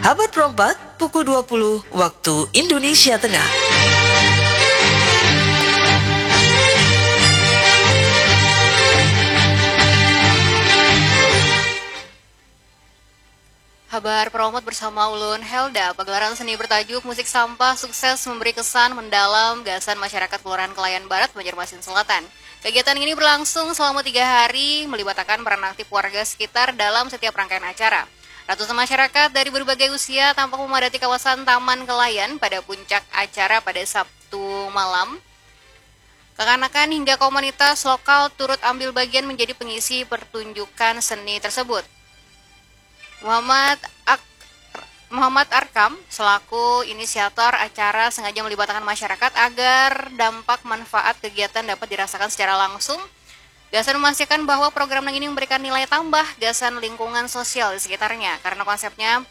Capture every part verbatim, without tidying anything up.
Abad perempat, pukul dua puluh waktu Indonesia Tengah. Habar Peromot bersama ulun Helda. Pagelaran seni bertajuk Musik Sampah sukses memberi kesan mendalam gasan masyarakat Kelurahan Kelayan Barat, Banjarmasin Selatan. Kegiatan ini berlangsung selama tiga hari, melibatakan peran aktif warga sekitar dalam setiap rangkaian acara. Ratusan masyarakat dari berbagai usia tampak memadati kawasan Taman Kelayan pada puncak acara pada Sabtu malam. Kakanakan hingga komunitas lokal turut ambil bagian menjadi pengisi pertunjukan seni tersebut. Muhammad Ak-, Muhammad Arkam selaku inisiator acara sengaja melibatkan masyarakat agar dampak manfaat kegiatan dapat dirasakan secara langsung. Gasan memastikan bahwa program nang ini memberikan nilai tambah gasan lingkungan sosial di sekitarnya, karena konsepnya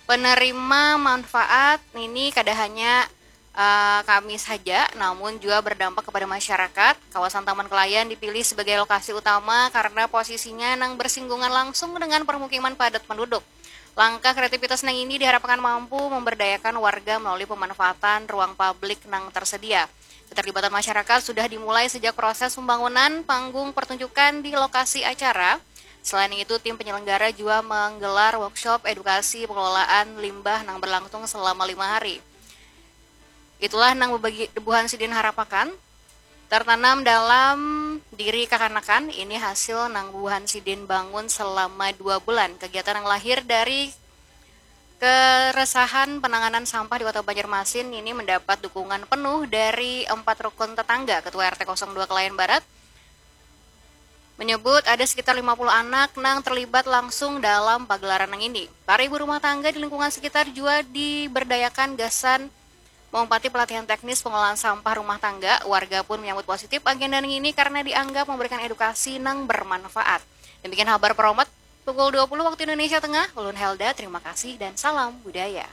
penerima manfaat ini kada hanya eh, kami saja, namun juga berdampak kepada masyarakat. Kawasan Taman Kelayan dipilih sebagai lokasi utama karena posisinya nang bersinggungan langsung dengan permukiman padat penduduk. Langkah kreativitas nang ini diharapkan mampu memberdayakan warga melalui pemanfaatan ruang publik nang tersedia. Keterlibatan masyarakat sudah dimulai sejak proses pembangunan panggung pertunjukan di lokasi acara. Selain itu, tim penyelenggara juga menggelar workshop edukasi pengelolaan limbah nang berlangsung selama lima hari. Itulah nang bebagi-, buhan sidin harapakan tertanam dalam diri kakanakan. Ini hasil nang buhan sidin bangun selama dua bulan. Kegiatan yang lahir dari keresahan penanganan sampah di Kota Banjarmasin ini mendapat dukungan penuh dari empat rukun tetangga. Ketua R T kosong dua Kelayan Barat menyebut ada sekitar lima puluh anak nang terlibat langsung dalam pagelaran nang ini. Para ibu rumah tangga di lingkungan sekitar juga diberdayakan gasan mengumpati pelatihan teknis pengelolaan sampah rumah tangga. Warga pun menyambut positif agenda nang ini karena dianggap memberikan edukasi nang bermanfaat. Demikian habar Peromot pukul dua puluh waktu Indonesia Tengah. Ulun Helda, terima kasih dan salam budaya.